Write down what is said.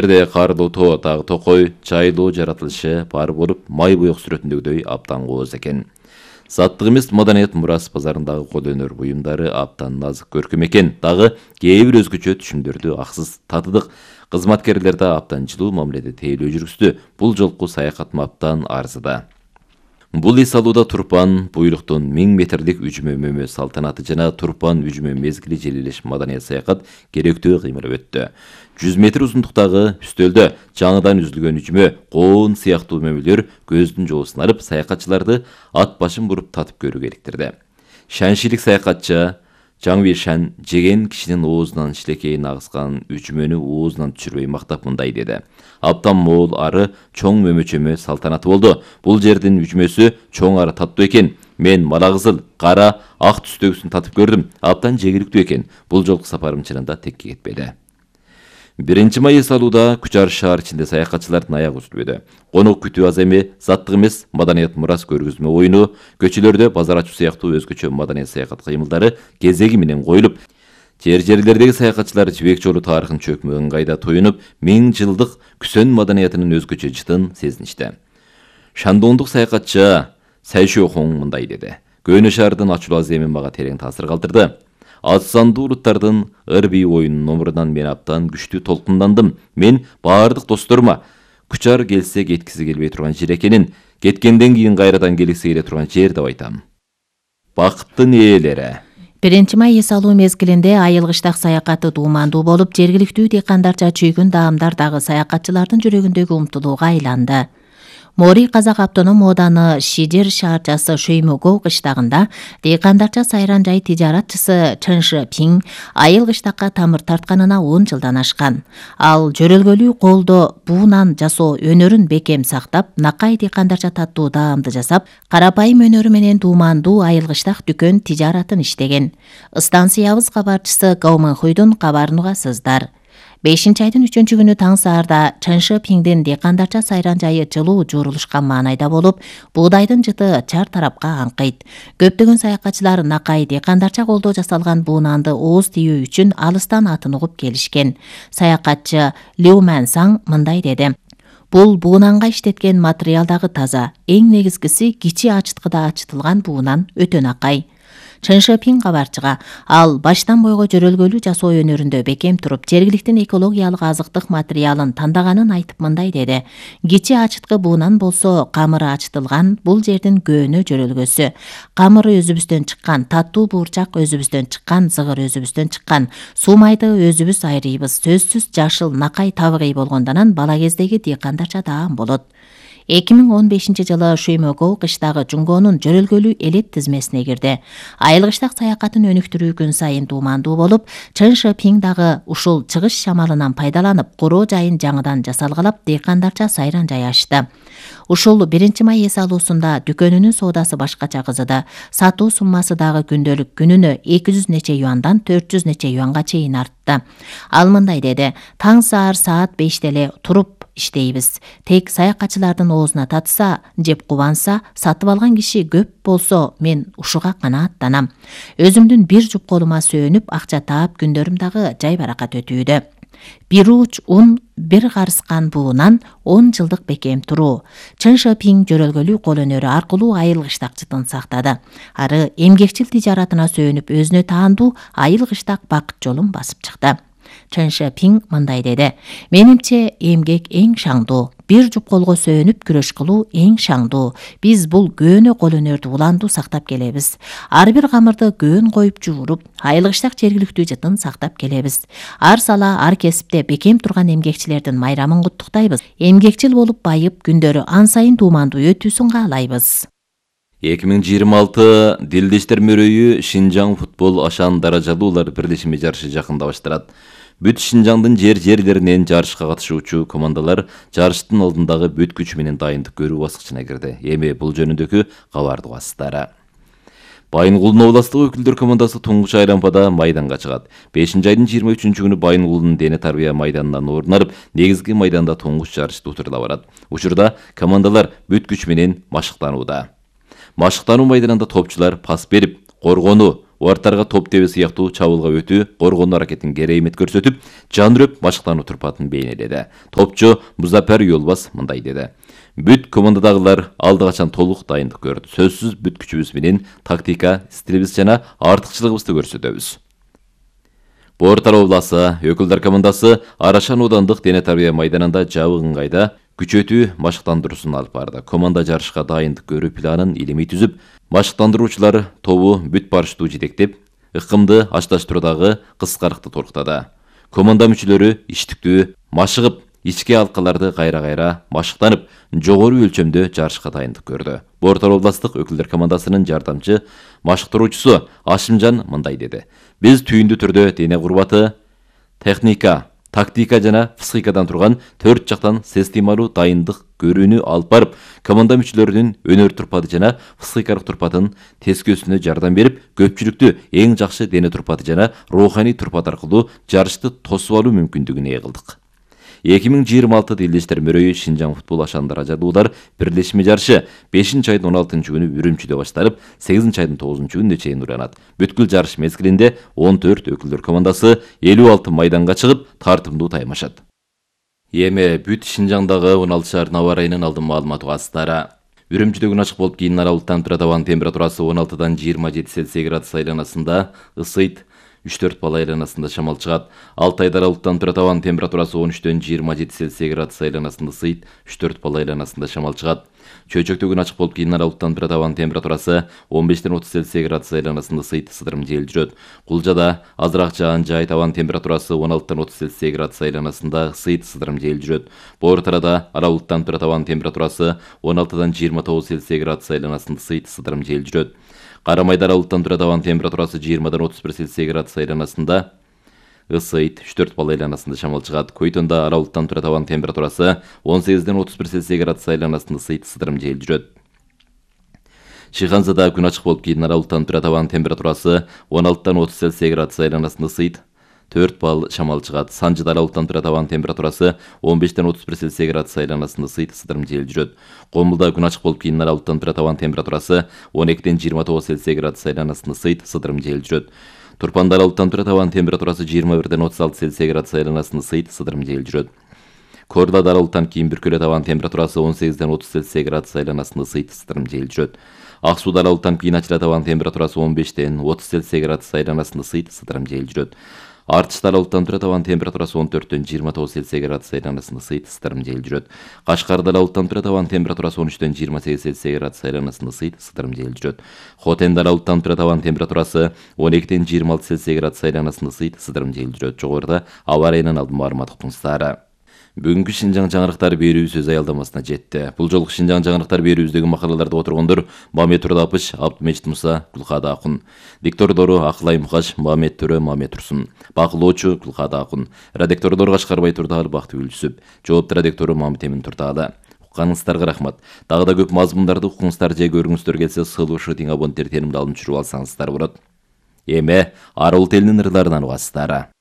Жерде карлуу тоо атагы токой, чайлуу жаратылышы бар болуп, май боек сүрөтүндөгүдөй аптан кооз экен. Заттык эмес маданият мурас базарындагы кол өнөр буюмдары аптан назык көркөм экен. Дагы кээ бир өзгөчө түшүмдөрдү аксыз татыдык. Кызматкерлер да аптан жылуу мамиледе тейлөө жүргүздү. Бул жолку саякат аптан арзыда. Бул эс алууда Турпан буйлуктун 1000 метрлик үжүмө мөмө салтанаты жана Турпан үжүмө мезгили желилеш маданият саякат керектүү кыймылып өттү. 100 метр узундуктагы үстөлдө жаңыдан үзүлгөн үжүмө, коон сыяктуу мөмөлөр көздүн жоосун алып, саякатчыларды ат башын буруп татып көрүүгө иликтирди. Шаншилик саякатчы Жаңбир Шан жеген кишинин оозунан шилекейин агыскан үжүмөнү оозунан түшүрбөй мактап мындай деди. Аптан мол ары чоң мөмөчөмө салтанаты болду. Бул жердин үжүмөсү чоң ары таттуу экен. Мен мала кызыл, кара, ак түстөгүсүн татып көрдүм. Аптан жегиликтүү экен. Бул жолку сапарым чынында текке кетпеди. 1 май эс алууда Күчар шаар ичинде саякатчылардын аягы үзүлбөдү. Конок күтүү аз эми, заттык эмес маданият мурас көргөзмө оюну, көчөлөрдө базар ачуу сыяктуу өзгөчө маданият саякат кыймылдары кезеги менен коюлуп, жерлердеги саякатчылар Жибек жолу тарыхын чөкмө ыңгайда тоюнуп, 1000 жылдык Күсөн маданиятынын өзгөчө жытын сезиништи. Шандондук саякатчы Сайшохон мындай деди. Көөнө шаардын ачуулуу аземи мага терең таасир калтырды. Азсандуу улуттардын ыр-бий оюнунун номурунан мен аптан күчтүү толкундандым. Мен баардык досторума Күчар келсе кеткиси келбей турган жер экенин, кеткенден кийин кайрадан келгиси келе турган жер деп айтам. Бакыттын ээлери. 1 май эс алуу мезгилинде айылгыштак саякаты дуумандуу болуп, жергиликтүү дыйкандарча чүйгүн даамдар дагы саякатчылардын жүрөгүндөгү умтулууга айланды. Мори Казак автоном ооданы Шидер шаарчасы Шөймөгөө кыштагында дыйкандарча сайран жай тижаратчысы Чыншы Пиң айыл кыштакка тамыр тартканына 10 жылдан ашкан. Ал жөрөлгөлүү колдо буунан жасоо өнөрүн бекем сактап, накай дыйкандарча таттуу даамды жасап, карапайым өнөрү менен дуумандуу айыл кыштак дүкөн тижаратын иштеген. Станциябыз кабарчысы Гауманхуйдун кабарын угасыздар. 5-айдын 3-күнү таң саарда Чыншы Пиңдин дыйкандарча сайран жайы жылуу жуурулушкан маанайда болуп, буудайдын жыты чар тарапка аңкыйт. Көптөгөн саякатчылар накай дыйкандарча колдо жасалган буунанды ооз тийүү үчүн алыстан атын угуп келишкен. Саякатчы Лю Мэнсаң мындай деди. Бул буунанга иштеткен материал дагы таза. Эң негизгиси кичи ачыткыда ачытылган буунан өтө накай. Чыншы Пиң кабарчыга ал баштан бойго жөрөлгөлүү жасоо өнөрүндө бекем туруп, жергиликтин экологиялык азыктык материалын тандаганын айтып мындай деди. Кичи ачыткы буунан болсо, камыры ачытылган, бул жердин көөнө жөрөлгөсү. Камыры өзүбүздөн чыккан, таттуу буурчак өзүбүздөн чыккан, зыгыр өзүбүздөн чыккан, суумайды өзүбүз айрыйбыз. Сөзсүз жашыл накай табыгый болгондон бала кездеги дыйкандарча даам болот. 2015 жылы Шөймөгөө кыштагы Жунгонун жөрөлгөлүү элет тизмесине кирди. Айыл кыштак саякатын өнүктүрүү күн сайын дуумандуу болуп, Чыншы Пиң дагы ушул чыгыш шамалынан пайдаланып, короо жайын жаңыдан жасалгалап, дыйкандарча сайран жай ачты. Ушул 1 май эс алуусунда дүкөнүнүн соодасы башкача кызыды. Сатуу суммасы дагы күндөлүк күнүнө 200 нече юандан 400 нече юанга чейин артты. Ал мындай деди. Таң саар саат 5 эле туруп иштейбиз. Тек саякатчылардын оозуна татса, жеп кубанса, сатып алган киши көп болсо, мен ушуга канааттанам. Өзүмдүн бир жуп колума сөөнүп, акча таап күндөрүм дагы жай баракат өтүүдө. Бир уч ун, бир карыскан буунан 10 жылдык бекем туруу. Чыншы Пиң жөрөлгөлүү кол өнөрү аркылуу айыл кыштак жытын сактады. Ары эмгекчил тижаратына сөөнүп, өзүнө таандуу айыл кыштак бакыт жолун басып чыкты. Чыншы Пиң мындай деди. Менимче эмгек эң шаңдуу. Бир жуп колго сөөнүп күрөш кылуу эң шаңдуу. Биз бул көөнө кол өнөрдү уландуу сактап келебиз. Ар бир камырды көөн коюп жууруп, айыл кыштак жергиликтүү жытын сактап келебиз. Ар сала ар кесипте бекем турган эмгекчилердин майрамын куттуктайбыз. Эмгекчил болуп байып, күндөрү ан сайын дуумандуу өтүүсүн каалайбыз. 2026 Дилдештер мөрөйү Шинжаң футбол ашан даражалуулар бирлешими жарышы жакында башталат. Бүт Шинжаңдын жерлеринен жарышка катышуучу командалар жарыштын алдындагы бүт күчү менен дайындык көрүү баскычына кирди. Эми бул жөнүндөгү кабарды угасыздар. Байынгулдун областык өкүлдөр командасы туңгуч айлампада майданга чыгат. 5-айдын 23-күнү Байынгулдун дене тарбия майданынан орун алып, негизги майданда туңгуч жарышты утурда барат. Учурда командалар бүт күч менен машыктанууда. Машыктануу майданында топчулар пас берип, коргонуу, убарттарга топ тебе сыяктуу чабуулга өтүү, коргонуу аракетин керемет көрсөтүп, жандырып машыктануу турпатын бейнеледи. Топчу Музаппар Юлбас мындай деди: Бүт командадагылар алды качан толук дайындык көрдү. Сөзсүз бүт күчүбүз менен тактика, стилибиз жана артыкчылыгыбызды көрсөтөбүз. Боор обласы өкүлдөр командасы Арашан аудандык дене тарбия майданында жабык ыңгайда күчөтүү машыктандыруусун алып барды. Команда жарышка дайындык көрүү планын илимий түзүп, машыктандыруучулар тобу бүт барыштуу жетектеп, ыкымды ашташтыруудагы кыскарыкты толуктады. Команда мүчөлөрү иштиктүү машыгып, ички алкаларды кайра-кайра машыктанып, жогору өлчөмдө жарышка дайындык көрдү. Боор областык өкүлдөр командасынын жардамчы машыктыруучусу Ашимжан мындай деди: Биз түйүндүү түрдө дене курбаты, техника, тактика жана психикадан турган 4 жактан системалуу дайындык көрүүнү алып барып, команда мүчөлөрүнүн өнөр турпаты жана психикалык турпатын тескөөсүнө жардам берип, көпчүлүктү эң жакшы дене турпаты жана руханий турпат аркылуу жарышты тосуп алуу мүмкүндүгүнө ээ кылдык. 2026 Элдиштер мөрөйү Шинжаң футбол ашандар ажадуулар бирлешме жарышы 5-айдын 16-күнү Үрүмчүдө башталып, 8-айдын 9-күнүнө чейин уланат. Бүткүл жарыш мезгилинде 14 өкүлдөр командасы 56 майданга чыгып, тартымдуу таймашат. Эми бүт Шинжаңдагы 16 шаар аба ырайынын алдын маалыматы кастары. Үрүмчүдө күн ачык болуп, кийин аралыктан турат. Абанын температурасы 16-дан 27 Цельсий градус айланасында, ысыйт 3-4 балл айланасында шамал чыгат. Алтайда аралыктан турат. Абанын температурасы 13-төн 27 Цельсий градус айланасында, ысыйт 3-4 балл айланасында шамал чыгат. Чөйчөктө күн ачык болуп, кийин аралыктан турат. Абанын температурасы 15-тен 30 Цельсий градус айланасында, ысыйт сыдырым жел жүрөт. Кулжада азыраак жаан жайт. Абанын температурасы 16-тан 30 Цельсий градус айланасында, ысыйт сыдырым жел жүрөт. Боор тарада аралыктан турат. Абанын температурасы 16-дан 29 Цельсий градус айланасында, ысыйт сыдырым жел жүрөт. Карамайда аралыктан турат. Абанын температурасы 20-дан 31 Цельсий градус айланасында, ысыйт 3-4 балл айланасында шамал чыгат. Койтонда аралыктан турат. Абанын температурасы 18-ден 31 Цельсий градус айланасында, ысыйт сыдырым жел жүрөт. Шыханзада күн ачык болуп, кийин аралыктан турат. Абанын температурасы 16-дан 30 Цельсий градус айланасында, ысыйт 4 балл шамал чыгат. Санжыда аралыктан турат. Абанын температурасы 15-тен 31 Цельсий градус айланасында, ысыйт сыдырым жел жүрөт. Комулда күн ачык болуп, кийин аралыктан турат. Абанын температурасы 12-тен 29 Цельсий градус айланасында, ысыйт сыдырым жел жүрөт. Турпанда аралыктан турат. Абанын температурасы 21-ден 36 Цельсий градус айланасында, ысыйт сыдырым жел жүрөт. Кордада аралыктан кийин бүркөлөт. Абанын температурасы 18-ден 30 Цельсий градус айланасында, ысыйт сыдырым жел жүрөт. Ак сууда аралыктан кийин ачылат. Абанын температурасы 15-тен 30 Цельсий градус айланасында, ысыйт сыдырым жел жүрөт. Артышта аралыктан турат. Абанын температурасы 14-төн 29 Цельсий градус айланасында, ысыйт сыдырым жел жүрөт. Кашкарда аралыктан турат. Абанын температурасы 13-төн 28 Цельсий градус айланасында, ысыйт сыдырым жел жүрөт. Хотенде аралыктан турат. Абанын температурасы 12-тен 26 Цельсий градус айланасында, ысыйт сыдырым жел жүрөт. Жогоруда аба ырайынын алдын маалымат уктуңуздар. Бүгүнкү Шинжаң жаңырыктар берүүбүз өз аялдамасына жетти. Бул жолку Шинжаң жаңырыктар берүүбүздөгү макалаларды отыргондор Мамет Турдапыч, Абдымежит Муса, Гүлкада Акун. Диктордору Акылай Мукаш, Мамет Төрө, Мамет Турсун. Бакылоочу Гүлкада Акун. Редактордор Кашкарбай Турдаалы, Бактыгүл Жүсүп. Жоопту редактору Мамит Эмин Турдаалы. Укканыңыздарга рахмат. Дагы да көп мазмундарды укуңуздар же көрүңүздөр келсе, сылышы тиң абоненттер теримди алып жүрүп алсаңыздар болот. Эми арал телинин ырларынан угасыздар.